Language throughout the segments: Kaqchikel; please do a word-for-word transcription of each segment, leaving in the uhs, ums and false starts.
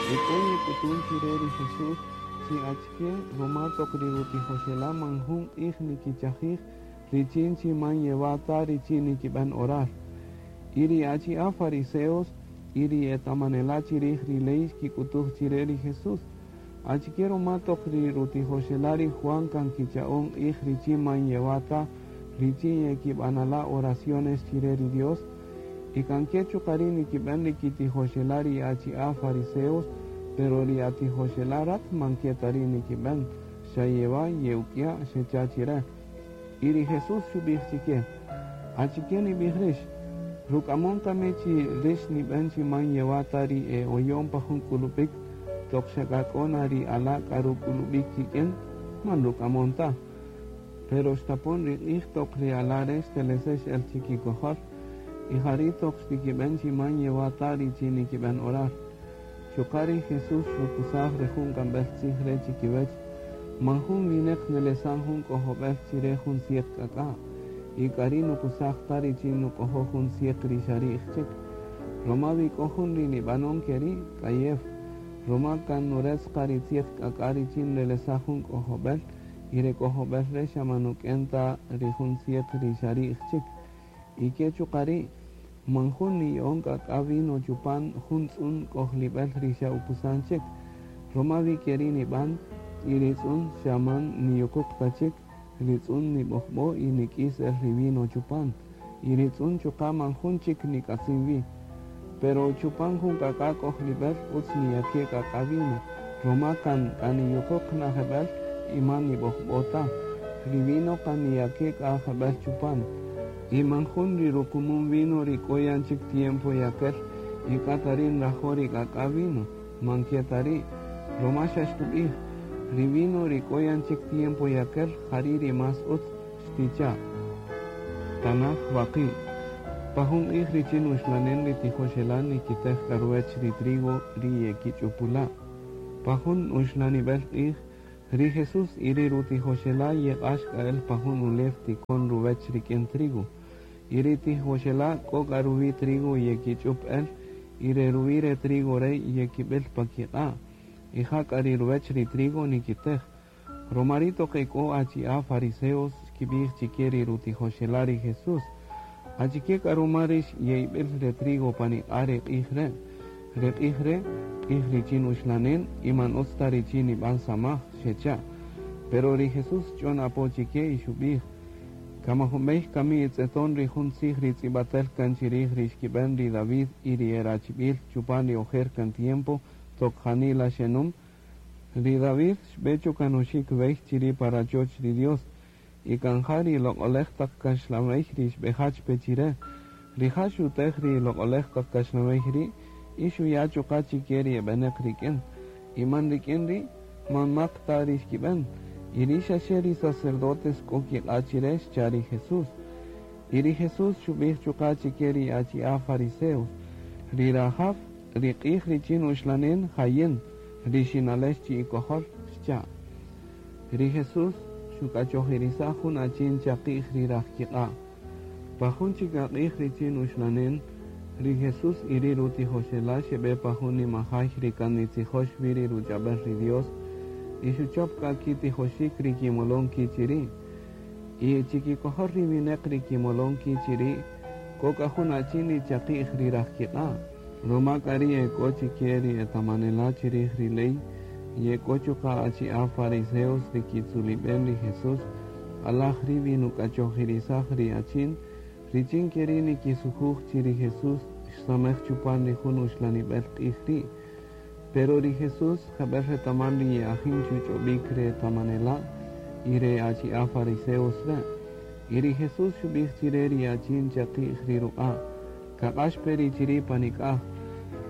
E k'o yek'utun chire ri Jesús chi achike ruma toq ri rutijoxela' man jun q'ij nikichajij richin chi man yewa' ta richin nikib'än orar. Y ri achi'a' fariseos y ri etamanela' chirij ri ley xkik'utuj chire ri Jesús: Achike ruma toq ri rutijoxela' ri Juan kan kicha'on q'ij richin man yewa' ta richin yekib'anala' oraciones chire ri Dios? Y kan ke chuqa' ri' nikib'än ri kitijoxela' ri achi'a' fariseos, pero ri atijoxela' rat man ke ta ri' nikib'än, xa yewa' ye'uk'ya', xecha' chire. Y ri Jesús xub'ij chike: Achike nib'ij rix? Ruk'amon kami chi rix nib'än chi man yewa' ta ri e oyon pa jun k'ulub'ik toq xa k'a k'o na ri ala' k'a ruk'ulub'ik kik'in? Man ruk'amon ta. Pero xtapon ri q'ij toq ri ala' re' xtelesex el chikikojol, y jari' toq xtikib'än chi man yewa' ta richin nikib'än orar. Chuqa' ri Jesús xukusaj re jun k'amb'el tzij re' chikiwech: Man jun wineq nelesan jun k'ojob'el chire jun tzieq k'ak'a', y k'ari' nukusaj ta richin nuk'ojoj jun tzieq ri xa ri'j chik. Ruma wi k'o jun ri nib'anon keri', k'ayew, ruma kan nuretz qa ri tzieq k'ak'a' richin nrelesaj jun k'ojob'el, y re k'ojob'el re' xa man nuk'en ta ri jun tzieq ri xa ri'j chik. Y ke chuqa' ri', man jun niya'on k'ak'a' vino chupan jun tz'un k'ojlib'el ri xa ukusan chik, ruma wi keri' nib'an, y ri tz'un xa man niyuquq ta chik, ri tz'un nib'ojb'o y nik'is el ri vino chupan, y ri tz'un chuqa' man jun chik nik'atzin wi. Pero chupan jun k'ak'a' k'ojlib'el utz niyake' k'ak'a' vino, ruma kan k'a niyuquq na jeb'el y man nib'ojb'o ta. Ri vino kan niyake' k'a jeb'el chupan. Y man jun ri rukumun vino ri k'o yan chik tiempo yakel y k'a ta ri' nrajo' ri k'ak'a' vino, man ke ta ri', ruma xa xtub'ij: Ri vino ri k'o yan chik tiempo yakel jari' ri más utz, xticha'. Tanaj waqi'. Pa jun q'ij richin uxlanen ri tijoxela' nikitej k'a ruwech ri trigo ri yekich'upula'. Pa jun uxlanib'el q'ij, ri Jesús y ri rutijoxela' yeq'ax k'a el pa jun ulew tikon ruwech rik'in trigo. Y ri tijoxela' k'o k'a ruwi' trigo yekich'up el, y re ruwi' re trigo re' yekib'il pa kiq'a'. Y ja k'a ri ruwech ri trigo nikitej. Ruma ri' toq e k'o achi'a' fariseos xkib'ij chike ri rutijoxela' ri Jesús: Achike k'a ruma rix ye'ib'il re trigo pan iq'a' re q'ij re'? Re q'ij re' q'ij richin uxlanen y man utz ta richin nib'an samaj, xecha'. Pero ri Jesús xch'on apo chike y xub'ij: Kamajunb'ey kami itz'eton ri jun tzij ri tz'ib'atel kan chirij ri xkib'en ri David y ri erachib'il chupan ri ojer kan tiempo toq janila xenum? Ri David xb'e chukanoxik b'ey chiri' pa rachoch ri Dios, y kan ja ri loq'olej taq kaxlanb'ey ri xb'ejach pe chire. Rija' xutej ri loq'olej taq kaxlanb'ey ri' y xuya' chuqa' chike ri eb'eneq rik'in. Y man rik'in ri' man mak ta ri xkib'en. Y ri' xaxe ri sacerdotes k'o kiq'a' chire, xcha' ri Jesús. Y ri Jesús xub'ij chuqa' chike ri achi'a' fariseos: Ri rajaw ri q'ij richin uxlanen jayin, ri xinalex chi'ikojol, xcha'. Ri Jesús xuk'achojirisaj jun achin chaqi'j ri rajkiq'a'. Pa jun chik aq'ij richin uxlanen, ri Jesús y ri rutijoxela' xeb'e pa jun nimajay ri kan nitzijox wi ri ruch'ab'el ri Dios, y xuchop k'a kitijoxik ri kimolon ki' chiri'. Y chikikojol ri wineq ri kimolon ki' chiri', k'o k'a jun achin ri chaqi'j ri rajkiq'a'. Ruma k'a ri' e k'o chike ri etamanela' chirij ri ley, y e k'o chuqa' achi'a' fariseos ri kitzulib'en ri Jesús, q'alaj ri' wi nuk'achojirisaj ri achin, richin keri' nikisujuj chi ri Jesús xsamej chupan ri jun uxlanib'el q'ij ri'. Pero ri Jesús jeb'el retaman ri ye'ajin chuch'ob'ik re etamanela' y re achi'a' fariseos re'. Y ri Jesús xub'ij chire ri achin chaqi'j ri ruq'a': Kaq'ax pe ri chiri' panik'aj.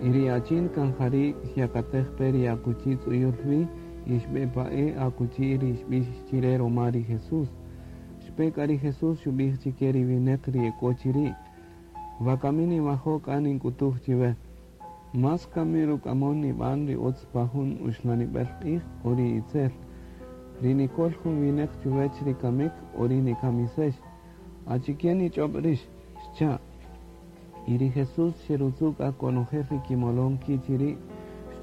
Y ri achin kan jari' xyakatej pe ri akuchi tz'uyul wi y xb'e pa'e' akuchi ri xb'ix chire ruma ri Jesús. Xpe k'a ri Jesús xub'ij chike ri wineq ri e k'o chiri': Wakami ninwajo' k'a nink'utuj chiwe. Más kami ruk'amon nib'an ri utz pa jun uxlanib'el q'ij o ri itzel? Ri nikol jun wineq chuwech ri kamik o ri nikamisex? Achike nich'ob' rix? Xcha'. Y ri Jesús xerutzu' k'a konojel ri kimolon ki' chiri',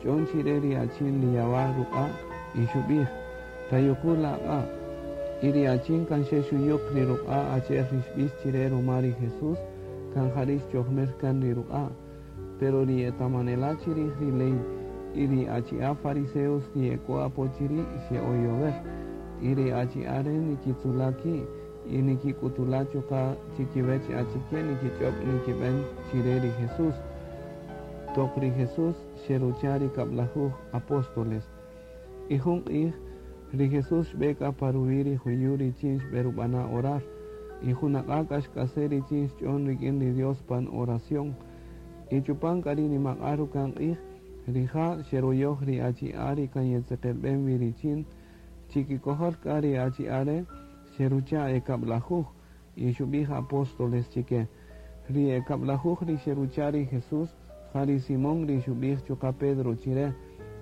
Xch'on chire ri achin ri yawa' ruq'a' y xub'ij: Tayuqu' la aq'a'. Y ri achin kan xe xuyuq ri ruq'a' achi'el ri xb'ix chire ruma ri Jesús, kan jari' xchojmir kan ri ruq'a'. Pero ri etamanela' chirij ri ley y ri achi'a' fariseos ri ek'o apo chiri' xe'oyower. Y ri achi'a' re' nikitzula' ki' y nikik'utula' chuqa' chikiwech achike nikich'ob' nikib'en chire ri Jesús. Toq ri Jesús xerucha' ri kab'lajuj apóstoles. Y jun q'ij, ri Jesús xb'e k'a pa ruwi' ri juyu' richin xb'erub'ana' orar. Y junaq'a' k'a xk'ase' richin xch'on rik'in ri Dios pan oración. Y chupan k'a ri nimaq'a' ruka'n q'ij, rija' xeruyoj ri achi'a' ri kan yetzeqelb'en wi richin, chikikojol k'a ri achi'a' re' xerucha' e kab'lajuj y xub'ij apóstoles chike. Ri e kab'lajuj ri xerucha' ri Jesús, ja ri Simón ri xub'ij chuqa' Pedro chire,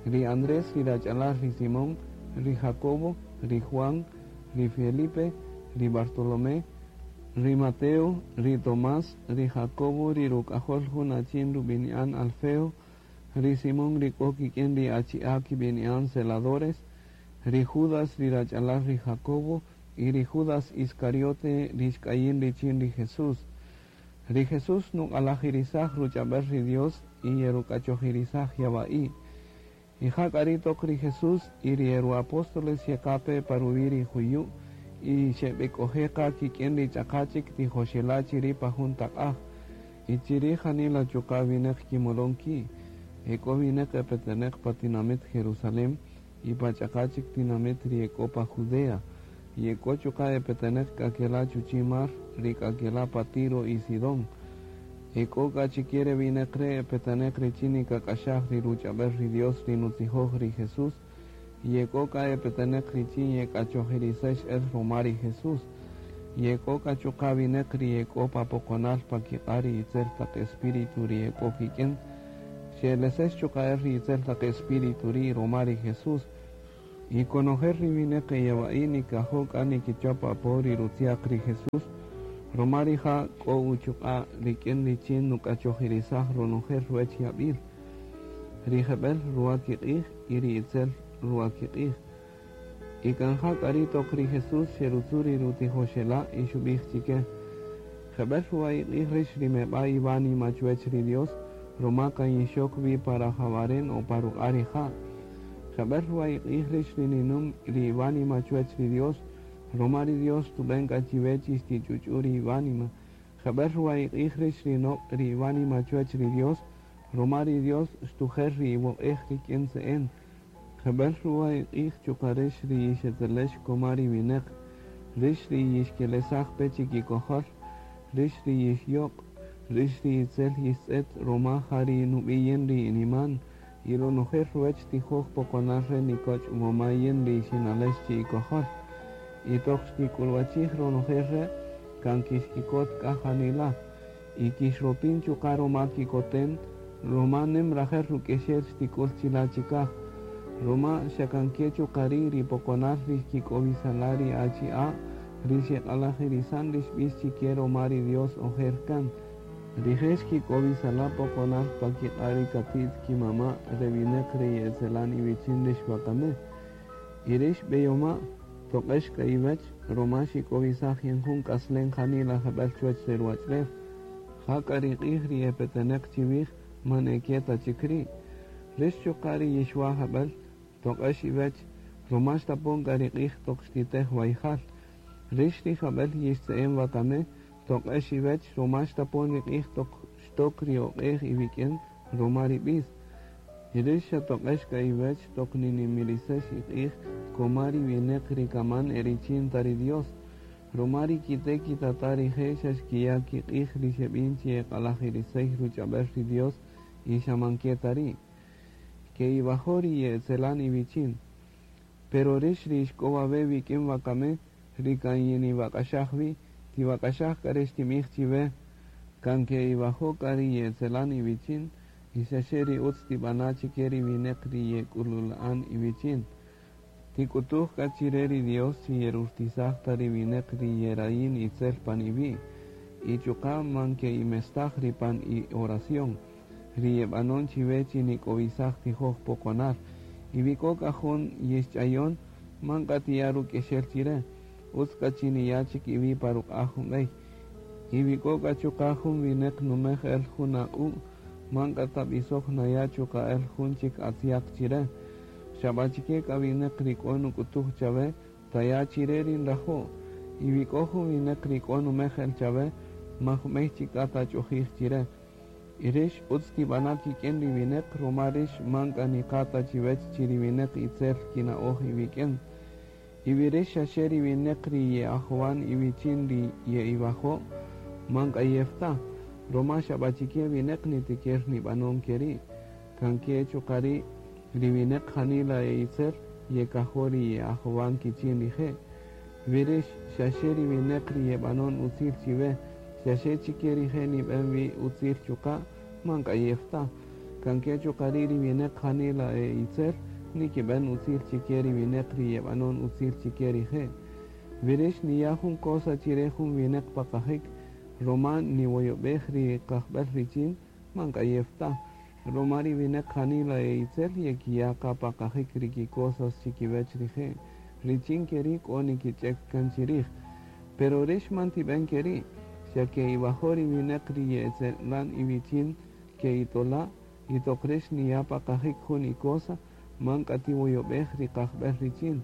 ri Andrés ri rach'alal ri Simón, ri Jacobo, ri Juan, ri Felipe, ri Bartolomé, ri Mateo, ri Tomás, ri Jacobo, ri ruk'ajol jun achin rub'ini'an Alfeo, ri Simón ri k'o kik'in ri achi'a' kib'ini'an celadores, ri Judas ri rach'alal ri Jacobo y ri Judas Iscariote ri xk'ayin richin ri Jesús. Ri Jesús nuq'alajirisaj ruch'ab'el ri Dios y yeruk'achojirisaj yawa'i'. Y ja k'a ri' toq ri Jesús y ri eruapóstoles xeqape pa ruwi' ri juyu' y xeb'ek'oje' qa kik'in ri ch'aqa' chik tijoxela' chiri' pa jun taq'aj. Y chiri' janila chuqa' winäq kimolon ki'. Ek'o winäq epetenäq pa tinamit Jerusalén y pa ch'aqa' chik tinamit ri ek'o pa Judea. Y ek'o chuqa' epetenäq k'a kela' chuchi' mar ri k'a kela' pa Tiro y Sidón. Ek'o k'a chike re winäq re' epetenäq richin nikak'axaj ri ruch'ab'el ri Dios ri nutzijoj ri Jesús. Y ek'o k'a epetenäq richin yek'achojirisex el ruma ri Jesús. Y ek'o k'a chuqa' winäq ri ek'o pa poqonal pa kiq'a' ri itzel taq espíritu ri ek'o kik'in. Xe'elesex chuqa' el ri itzel taq espíritu ri' ruma ri Jesús. Y konojel ri winäq eyawa'i' nikajo' k'a nikichop apo ri rutziaq ri Jesús, ruma rija' k'o uchuq'a' rik'in richin nuk'achojirisaj ronojel ruwech yab'il. Ri jeb'el ruwa kiq'ij y ri itzel ruwa kiq'ij. Y kan ja k'a ri' toq ri Jesús xerutzu' ri rutijoxela' y xub'ij chike: Jeb'el ruwa iq'ij rix ri meb'a' iwánima chuwech ri Dios, ruma kan yixok wi pa rajawaren o pa ruq'a' rija'. Jeb'el ruwa iq'ij rix ri ninüm ri iwánima chuwech ri Dios, ruma ri Dios tub'en k'a chiwech xtich'uch'u ri iwánima. Jeb'el ruwa iq'ij rix ri noq' ri iwánima chuwech ri Dios, ruma ri Dios xtujer ri iwoq'ej rik'in tze'en. Jeb'el ruwa iq'ij chuqa' rix ri yixetzelex koma ri winäq, rix ri yixkelesaj pe chikikojol, rix ri yixyoq', rix ri itzel yixtz'et ruma ja ri nub'i' ri iniman, y ronojel ruwech tijoj poqonal re nikoch' woma yin ri xinalex chi'ikojol. Y toq xtik'ulwachij ronojel re' kan kixkikot k'a janila, y kixropin chuqa' ruma kikoten, ruma nim rajel ruk'exel xtik'ul chila' chikaj. Ruma xa kan ke chuqa' ri' ri poqonal ri xkik'owisala' ri achi'a' ri xeq'alajirisan ri xb'ix chike ruma ri Dios ojer kan. Rije' xkik'owisala' poqonal pa kiq'a' ri kati't kimama' re winäq ri ye'etzelan iwichin rix wakami. Y rix b'eyoma' toq'ex k'a iwech ruma xik'owisaj yan jun k'aslen janila jeb'el chuwech re ruwach'ulew. Ja k'a ri q'ij ri epetenäq chiwij man eke ta chik ri'. Rix chuqa' ri yixwa' jeb'el toq'ex iwech ruma xtapon k'a ri q'ij toq xtitej wayjal. Rix ri jeb'el yixtze'en wakami toq'ex iwech ruma xtapon ri q'ij toq xtok ri oq'ej iwik'in ruma ri b'is. Y rix xa toq'ex k'a iwech toq ninimirisex iq'ij koma ri winäq ri kaman e richin ta ri Dios. Ruma ri kite' kitata' rije' xa xkiya' kiq'ij ri xeb'in chi eq'alajirisey ruch'ab'el ri Dios y xa man ke ta ri'. Ke'iwajo' ri ye'etzelan iwichin. Pero rix ri ixk'o wawe' wik'in wakami ri kan yiniwak'axaj wi', tiwak'axaj k'a re xtinb'ij chiwe, kan ke'iwajo' k'a ri ye'etzelan iwichin y xaxe ri utz tib'ana' chike ri winäq ri yek'ulula'an iwichin. Tik'utuj k'a chire ri Dios chi yerurtisaj ta ri winäq ri yerayin itzel pan iwi', y chuqa' man ke'imestaj ri pan i oración. ri yebanon chiwe chi nik'owisaj tijoj-poqonal. Y wi k'o k'a jun yixch'ayon, man k'a tiya' ruk'exel chire, utz k'a chi niya' chik iwi' pa ruq'a' jun b'ey. Y wi k'o k'a chuqa' jun wineq numej el jun aq'u', man k'a tab'isoj naya' chuqa' el jun chik atziaq chire. Xa b'achike k'a wineq ri k'o nuk'utuj chawe, taya' chire ri nrajo'. Y wi k'o jun wineq ri k'o numej el chawe, man jub'ey chik k'a tach'ojij chire. Y rix utz tib'ana' kik'in ri wineq, ruma rix man k'a niqa' ta chiwech chi ri wineq itzel kina'oj iwik'in. Y wi rix xaxe ri wineq ri ye'ajowan iwichin ri ye'iwajo', man k'ayew ta, ruma xa b'achike wineq nitikir nib'anon keri'. Kan ke chuqa' ri' ri wineq janila e itzel yekajo' ri ye'ajowan kichin rije'. Wi rix xaxe ri wineq ri yeb'anon utzil chiwe, xaxe chike rije' nib'en wi utzil chuqa', man k'ayew ta. Kan ke chuqa' ri' ri wineq janila e itzel nikib'en utzil chike ri wineq ri yeb'anon utzil chike rije'. Wi rix niya' jun cosa chire jun wineq pa qajik, ruma niwoyob'ej ri qajb'el richin, man k'ayew ta. Ruma ri wineq janila e itzel yekiya' qa pa qajik ri kicosas chikiwech rije', richin keri' k'o nikich'ek kan chirij. Pero rix man tib'en keri', xa ke iwajo' ri wineq ri ye'etzelan iwichin ke itola', y toq rix niya' pa qajik jun ikosa, man k'a tiwoyob'ej ri qajb'el richin.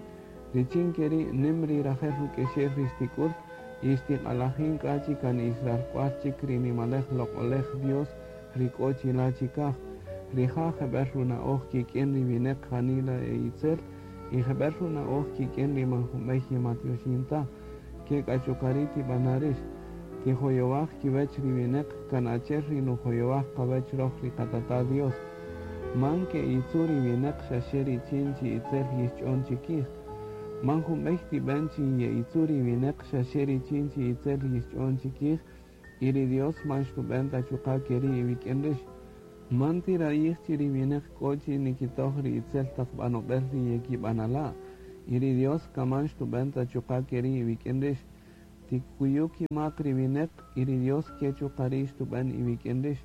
Richin keri' nim ri rajel ruk'exel ri xtik'ul, y xtiq'alajin k'a chi kan ixralk'wal chik ri nimalej loq'olej Dios ri k'o chila' chikaj. Rija' jeb'el runa'oj kik'in ri wineq janila e itzel, y jeb'el runa'oj kik'in ri man junb'ey yematyoxin ta. Ke k'a chuqa' ri' tib'ana' rix. Tijoyowaj kiwech ri wineq kan achi'el ri nujoyowaj qawech roj ri qatata' Dios. Man ke itzu ri wineq xaxe richin chi itzel yixch'on chikij. Man junb'ey tib'en chi ye'itzu ri wineq xaxe richin chi itzel yixch'on chikij, y ri Dios man xtub'en ta chuqa' keri' iwik'in rix. Man tirayij chi ri wineq k'o chi nikitoj ri itzel taq b'anob'el ri yekib'anala', y ri Dios kaman xtub'en ta chuqa' keri' iwik'in rix. Tikuyu kimak ri wineq, y ri Dios ke chuqa' ri' xtub'en iwik'in rix.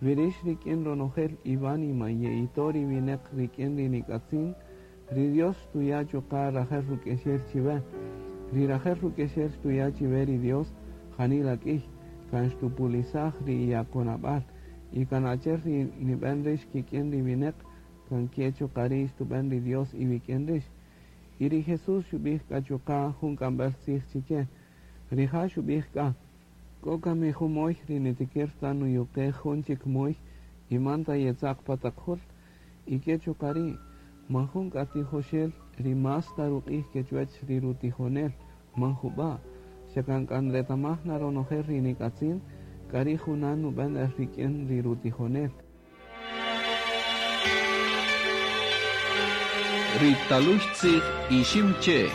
Wi rix rik'in ronojel iwánima ye'ito' ri wineq rik'in ri nik'atzin, ri Dios xtuya' chuqa' rajel ruk'exel chiwe. Ri rajel ruk'exel xtuya' chiwe ri Dios janila k'ïy, kan xtupulisaj ri iyakonab'al, y kan achi'el ri nib'en rix kik'in ri wineq, kan ke chuqa' ri' xtub'en ri Dios iwik'in rix. Y ri Jesús xub'ij k'a chuqa' jun k'amb'el tzij chike. Rija' xub'ij k'a, k'o kami jun moy ri nitikir ta nuyuqej jun chik moy y man ta yetzaq pa taq jul, y ke chuqa' ri' man jun k'a tijoxel ri mas ta ruq'ij ke chuwech ri rutijonel, man jub'a', xa kan k'a nretamaj na ronojel ri nik'atzin, k'a ri' junan nub'en el rik'in ri rutijonel. Ri talux tzij ixim che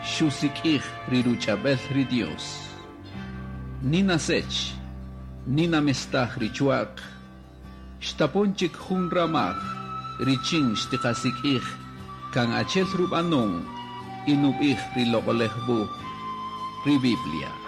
xusik'ij ri ruch'ab'el ri Dios. Nina sech, nina mestaj ri chuaq, xtapon chik jun ramaj richin xtiqasik'ij kan achel rub'anon y nub'ij ri loq'olej wuj, ri Biblia.